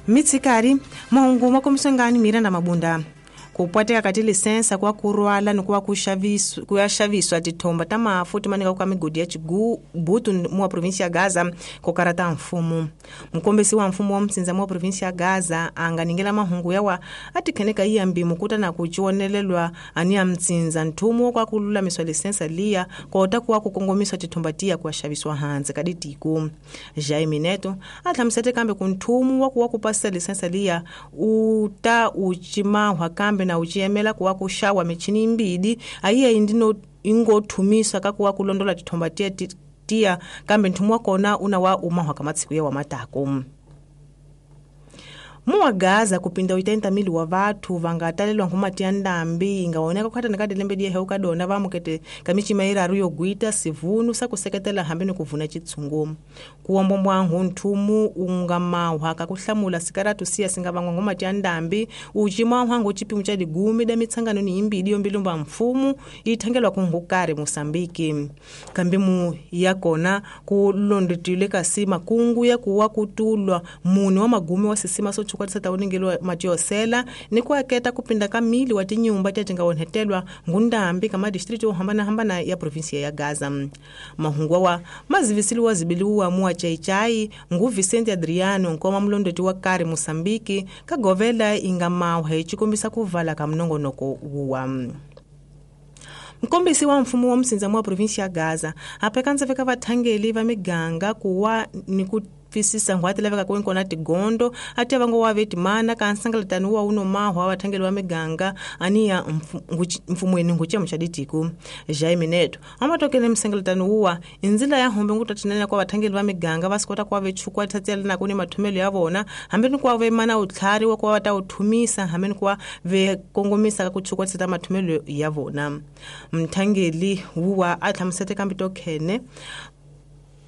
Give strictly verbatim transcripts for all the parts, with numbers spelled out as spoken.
Mitsikari mahungu makombiswa ngani Miranda Mabunda kupwateka ka tilisensa kwa kurwala ni kuwa kuxaviswa kuya xaviswa tithomba ta mafu ti manika ka migodi ya Chigubutu mu wa provinsia ya Gaza kokarata mfumo. Mukombisi wa mfumo wa msinza mu wa provinsia ya Gaza anga ningela mahungu yawa atikheneka iya mbimu kuta na kuchionelelwa ani ya mtsinza nthumu kwa kululamiswa lisensa liya kota kuwa kukongomiswa tithomba tiya kuya xaviswa hansi ka ditiko. Jaime Neto atlhamusete kambe ku nthumu wa kuwa kupasisa lisensa liya uta uchimahwa kambe na uchiyemela kuwa kuxawa michini imbidi ayiya indino ingothumiswa ka kuwa kulondola tithomba tiya tiya kambe nthumu wa kona una wa umahwa ka matsiku ya wa matako. Muwa Gaza kupinda oitenta mil wa vathu vangatalelwa nkhumati ya ndambi ingaoneka kukhatana ka dilembe diye heuka dona vamukete kamichima iraru yogwita sivunu sakuseketela hambi ni kuvuna chitsungu. Kuwombombwa nthumu unga mahwa kakuhlamula sikaratu siya singavangwa nkhumati ya ndambi uchima hwangu chipimo cha ligumi da mitsangano ni imbidi yombilumba mfumu ithangelwa kunhukari Mosambiki. Kambimu yakona kulondotile kasi makungu ya kuwa kutulwa muni wa magumi wa sisima so chukwa tsata uningelo matiosela ni kuaketa kupinda kamili wa tinyumba tatinga onhetelwa ngundambi kama district ohambana hambana ya provinsia ya Gaza. Mahungwa wa mazivisili wa zibiliwa muwa chaichai ngu Vicente Adriano nkoma mlondoti wa kari Mosambiki kagovela inga mauhe chikombisa kuvala kamnongonoko wuwa. Mkombisi wa mfumo wa msinza mwa provinsia ya Gaza apekanza veka vathangeli va miganga kuwa ni ku fisisa ngwati laveka kuinkona tigondo ati avango wa vetimana ka nsangalatani wa uno mahwa vathangeli wa miganga aniya mfumweni nguchemu cha ditiku. Jaime Neto amatokele msangalatani uwa inzila ya hombe ngutatinene kwa vathangeli va miganga vasikota kwa vechukwa thatsela na kuni mathumelo ya vona hambi ni kwa vemana utlhari wa kwa vata uthumisa hambi ni kwa vekongomisa ka kuchukwa tseta mathumelo ya vona. Mthangeli uwa atlhamusete kambi tokhene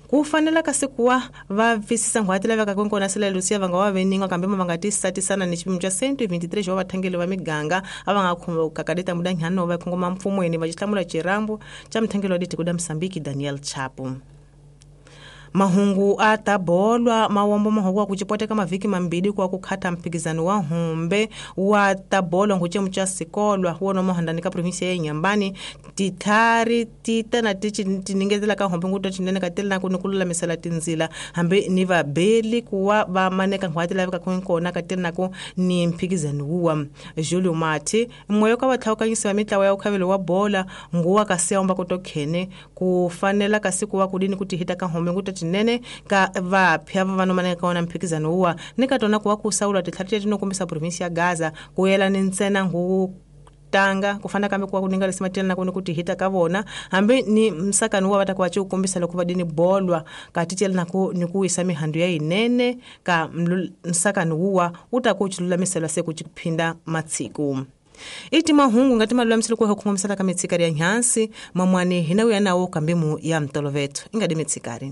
kufanela kasi kuwa va visisa ngwati laveka kunkona sila Lucia vanga wa veninga kambe vanga tisatisana ni xipimo xa cento veintitrés wa vathangeli va miganga a va nga khumbuka kadeta mudanghano va khongoma mfumweni va xihlamula xirambu xa mthangeli wa ditiko da Mosambiki Daniel Chapo. Mahungu atabolwa mawombo mahungu wa kuchipoteka maviki mambili kwa kukhata mphikizano wa humbe wa tabolwa nguchemu cha sikolwa wona mohandani ka provinsia ya Nyambani tithari tita na tichi tiningezela ka humbe nguto tinene ka tela ku nikululamisela tinzila hambi ni vabeli kuwa va maneka ngwati laveka kunkona ka tela ku ni mphikizano wuwa. Julio Mati moyo ka vatlhawukanyisi va mitlawa ya ukhavelo wa bola nguwa ka siyomba kutokhene kufanela kasi kuwa kudini kutihita ka humbe nguto tinene ka vapya va vano ka wona mphikizano uwa ni ka tona kuwa kusaula titlhari tinokombisa provinsia ya Gaza kuyela ni ntsena ngu tanga kufana kambe kuwa kuninga lesima tena kuni kutihita ka vona hambi ni msakano wa vata kuwa kukombisa loko vadini bolwa katitela na ku ni kuwisa mihandu ya inene ka msakano uwa utakuchilulamisela se kuchiphinda matsiku. Iti mahungu ngati malulamiselo kuwa kukombisa ka mitsikari ya nyansi mamwani hina uya nawo kambimu ya mtolovetu ingadi mitsikari.